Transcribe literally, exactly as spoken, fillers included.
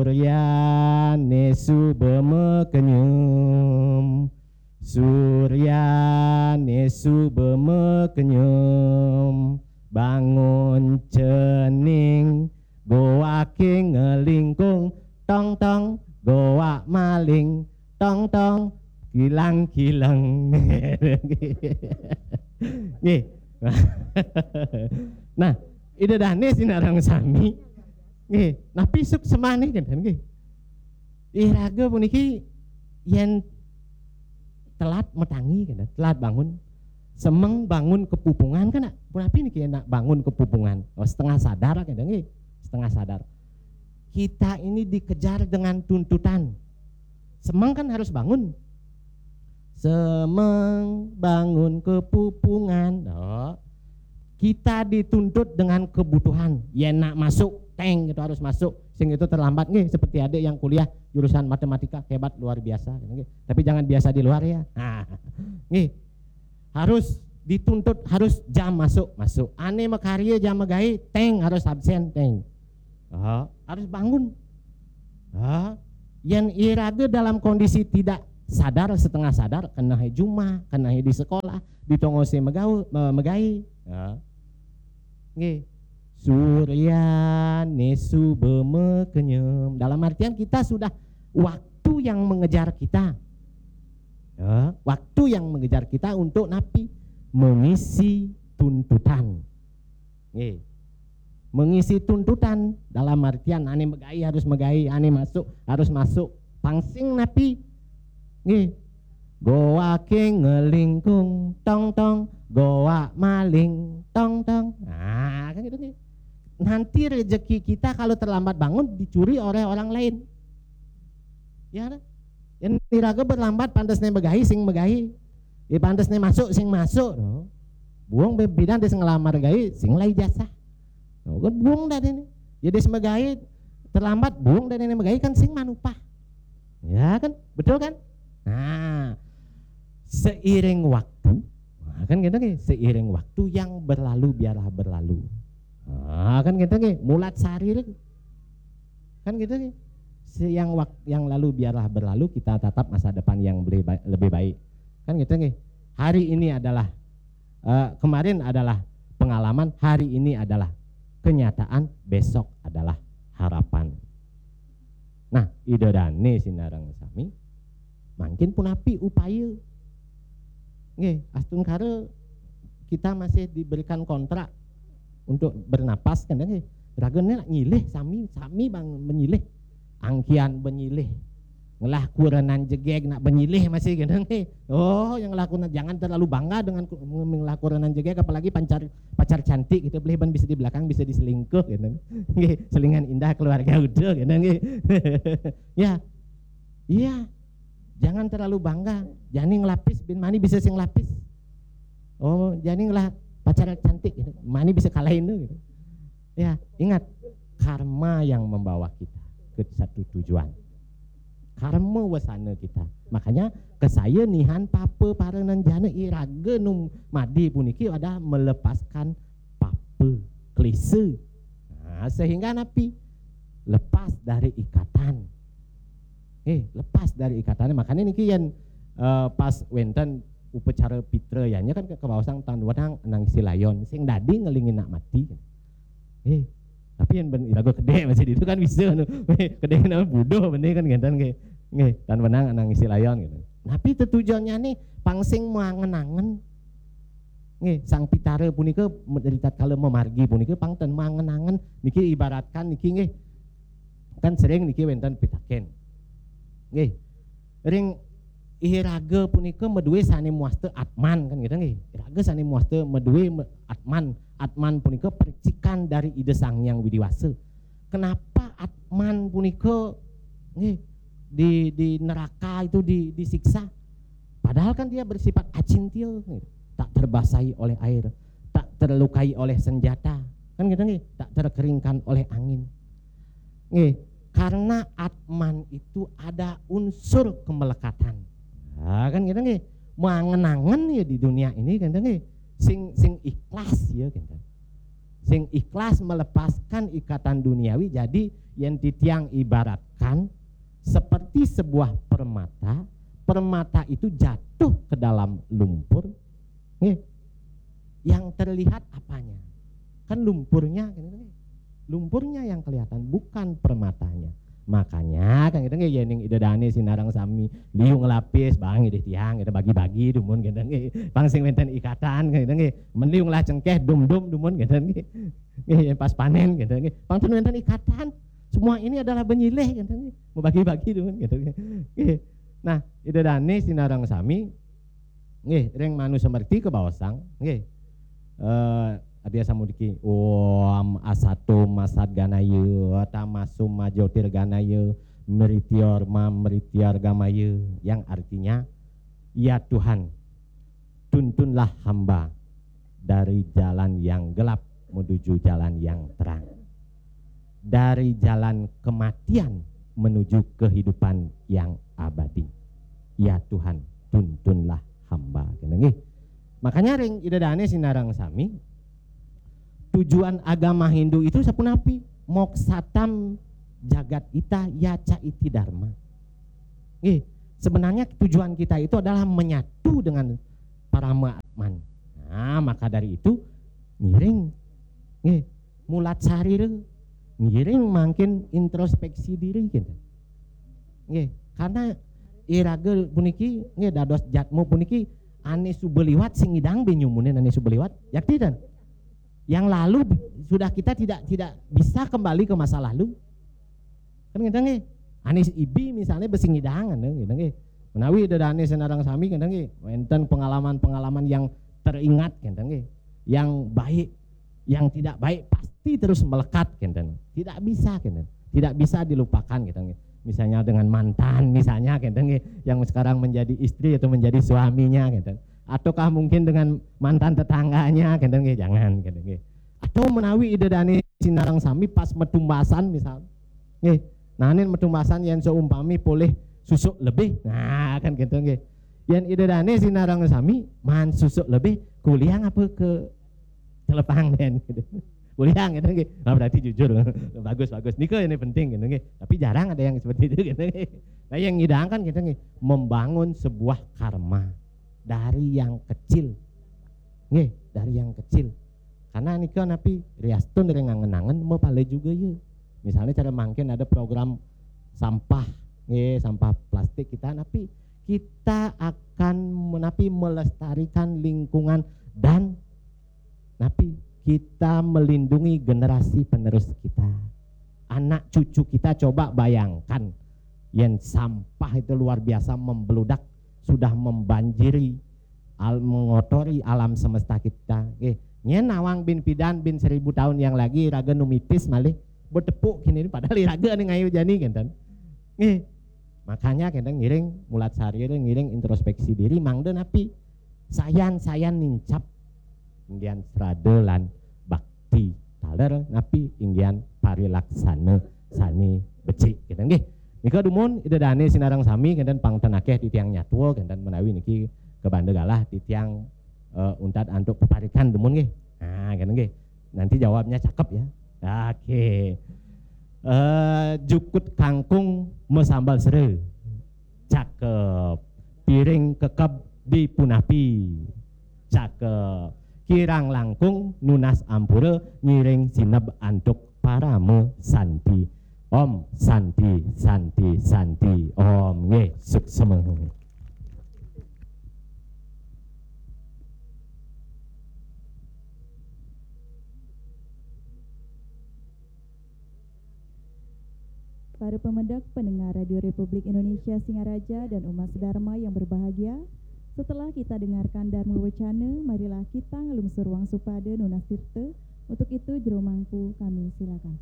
Suryane suba makenyem, suryane suba makenyem, bangun cening, goake ngelingkung, tong tong, goak maling, tong tong, kilang kileng. Nggih. Nah, Ida Dane sinareng sami. Nggih, napi suksmane kenten nggih. Iraga puniki yen telat matangi kenten, telat bangun. Semeng bangun kepupungan kan, punapi niki nak bangun kepupungan? Oh, setengah sadar kenten nggih. Setengah sadar. Kita ini dikejar dengan tuntutan. Semeng kan harus bangun. Semeng bangun kepupungan. Oh. Kita dituntut dengan kebutuhan. Yen nak masuk, teng, itu harus masuk. Sing itu terlambat nggih, seperti adik yang kuliah jurusan matematika, hebat luar biasa nggih. Tapi jangan biasa di luar ya. Nah, nggih. Harus dituntut, harus jam masuk, masuk. Ane makarya jam magaé, teng, harus absen, teng. Ah, harus bangun. Ah, yen iraga dalam kondisi tidak sadar, setengah sadar, kenahe jumah, kenahe di sekolah, di tongose megau-, me-, megai. Ya. Nggih. Suryane suba makenyem. Dalam artian kita sudah waktu yang mengejar kita. Ya, waktu yang mengejar kita untuk napi? Mengisi tuntutan. Nggih. Mengisi tuntutan dalam artian ane megai harus megai, ane masuk harus masuk. Pang sing napi? Nggih. Goake ngelingkung, tong tong, goak maling, tong tong. Nah, kan gitu nggih. Nanti rezeki kita kalau terlambat bangun dicuri oleh orang lain. Ya, kan? Yen iraga berlambat, pantes ne megai, sing megai. Ya, pantes ne masuk, sing masuk. No. Buung be-, bidan des ngelamar gai, sing lai jasa. No, kan buung dadene. Ya, des megai terlambat, buung dadene megai kan sing manupah. Ya kan? Betul kan? Nah, seiring waktu, nah, kan gitu nggih, seiring waktu yang berlalu biarlah berlalu. Nah, kan gitu nggih, mulat sarir. Kan gitu nggih. Se-, yang wak-, yang lalu biarlah berlalu, kita tatap masa depan yang lebih ba-, lebih baik. Kan gitu nggih. Hari ini adalah, eh, kemarin adalah pengalaman, hari ini adalah kenyataan, besok adalah harapan. Nah, Ida Dane sinareng sami, mangkin punapi upaya? Nggih, astungkara kita masih diberikan kontrak untuk bernapas, kan nggih. Ragane nak nyilih sami, sami bang menyilih. Angkian menyilih. Ngelah kurenan jegeg nak menyilih masih, kan nggih. Oh, yang ngelah kurenan, jangan terlalu bangga dengan ku-, ngelah kurenan jegeg, apalagi pacar, pacar cantik gitu, boleh ban bisa di belakang, bisa diselingkuh gitu. Nggih, selingan indah keluarga udah gitu nggih. Ya. Iya. Jangan terlalu bangga. Jani ngelapis, bin mani bisa sing lapis. Oh, jani ngelah pacar cantik gitu. Mani bisa kalahin tuh gitu. Ya, ingat, karma yang membawa kita ke satu tujuan. Karma wasana kita. Makanya, kesaya nihan papa para nanjana, iraga nu madi puniki adalah melepaskan papa, klise. Nah, sehingga napi? Lepas dari ikatan. Eh, lepas dari ikatan. Makanya niki yen, eh, pas wenten upacara pitra ya, nya kan ke-, kebaosang tan wenang anang silayon, sing dadi ngelingin nak mati. Eh, tapi yen ben iraga kedek masih itu kan bisa anu. Kedek nama buduh bener kan ngenten nggih. Nggih, tan wenang anang silayon gitu. Tapi tetujuannya nih pang sing mangen-angen. Nggih, Sang Pitara punika me-, ritatkala mamargi punika pang ten mangen-angen niki ibaratkan niki nggih. Kan sering niki wenten pitaken. Nggih. Ring iraga punika madue sane muasta atman kan gitu nggih. Iraga sane muasta madue me-, atman. Atman punika percikan dari Ida Sang Hyang Widi Wasa. Kenapa atman punika nggih di, di neraka itu di, disiksa? Padahal kan dia bersifat acintya, nggih. Tak terbasahi oleh air, tak terlukai oleh senjata, kan gitu nggih, tak terkeringkan oleh angin. Nggih, karena atman itu ada unsur kemelekatan. Nah, kan gitu nggih. Mangen-angen ya di dunia ini kan nggih. Sing, sing ikhlas ya kan. Sing ikhlas melepaskan ikatan duniawi. Jadi yen titiang ibarat diletakkan seperti sebuah permata, permata itu jatuh ke dalam lumpur, nggih, yang terlihat apanya? Kan lumpurnya, kan gitu, nggih. Lumpurnya yang kelihatan, bukan permatanya. Makanya kan gitu, nggih, yén ida dané sinareng sami liu ngelapis, bang idih tiang, kita bagi-bagi dumun gitu, nggih. Pang sing wénten ikatan gitu, nggih. Men liu ngelah cengkéh, dum-dum dumun gitu, nggih. Nggih, yén pas panén gitu, nggih. Pang ten wénten ikatan. Semua ini adalah benyilih gitu, nggih. Mau bagi-bagi dumun gitu, nggih. Nggih. Nah, ida dané sinareng sami, nggih, ring Manu Semerti kabaosang, nggih. Eh, Adiasa mudiki, "Om asato masat ganaya, tamaso majotir ganaya, mrityorma mrityargamaya," yang artinya, "Ya Tuhan, tuntunlah hamba dari jalan yang gelap menuju jalan yang terang, dari jalan kematian menuju kehidupan yang abadi. Ya Tuhan, tuntunlah hamba." Kena nggih. Makanya ring ida dané sinareng sami, tujuan agama Hindu itu sapunapi? "Moksatam jagat ita yaca iti dharma." Nggih, sebenarnya tujuan kita itu adalah menyatu dengan parama Atman. Nah, maka dari itu ngiring, nggih, mulat sarira, ngiring mangkin introspeksi diri gitu. Nggih, karena iraga puniki, nggih, dados jatmu puniki ané suba liwat sing ngidang bé nyumunin ané suba liwat. Yakti ten? Yang lalu sudah kita tidak tidak bisa kembali ke masa lalu. Kan ngéten nggih. Ané ibi misalnya bé sing ngidang ngéten nggih. Menawi ida dané sinareng sami ngéten nggih. Wénten pengalaman-pengalaman yang teringat ngéten nggih. Yang baik, yang tidak baik pasti terus melekat ngéten. Tidak bisa ngéten. Tidak bisa dilupakan ngéten nggih. Misalnya dengan mantan misalnya ngéten nggih, yang sekarang menjadi istri atau menjadi suaminya ngéten. Ataukah mungkin dengan mantan tetangganya ngéten nggih, jangan ngéten nggih. Atau menawi ida dané sinareng sami pas metumbasan misal. Nggih. Nah, nin metumbasan yén seumpami polih susuk lebih. Nah, kan gitu nggih. Yén ida dané sinareng sami maan susuk lebih, kuliah apa ke telepang den gitu. Kuliah gitu nggih. Nah, berarti jujur. Bagus, bagus. Nika ini penting gitu nggih. Tapi jarang ada yang seperti itu gitu nggih. Nah, yang ngidang kan gitu nggih, membangun sebuah karma dari yang kecil. Nggih, dari yang kecil. Karena nika napi riastun ring angen-angen mapala juga ya. Misalnya cara mangkin ada program sampah, nggih, sampah plastik kita, napi kita akan menapi melestarikan lingkungan dan napi kita melindungi generasi penerus kita. Anak cucu kita, coba bayangkan, yén sampah itu luar biasa membeludak, sudah membanjiri, al-, mengotori alam semesta kita. Nggih, nyén nawang bin pidan bin seribu tahun yang lagi raga nu mitis malih betepuk kini, padahal iraga ané ngayu jani ngéten. Nggih. Makanya ngéten ngiring mulat sarira, ngiring introspeksi diri, mangda napi? Sayan-sayan nincap inggihan srada lan bakti taler, napi? Inggihan parilaksana sané becik ngéten nggih. Nika dumun ida dané sinareng sami ngéten, pang ten akéh titiang nyatua ngéten, menawi niki kabanda galah titiang, eh, untat antuk peparikan dumun nggih. Nah, ngéten nggih. Nanti jawabnya cakep ya. Oke. Eh, jukut kangkung masambal sera. Cakep. Piring kekeb dipunapi. Cakep. Kirang langkung nunas ampura, ngiring sineb antuk parama santi. Om santi, santi, santi. Om, nggih, suksema. Para pemedek, pendengar Radio Republik Indonesia Singaraja dan umat sedharma yang berbahagia, setelah kita dengarkan Dharma Wacana, marilah kita nglungsur wangsupada nunas tirta. Untuk itu, jero mangku kami silakan.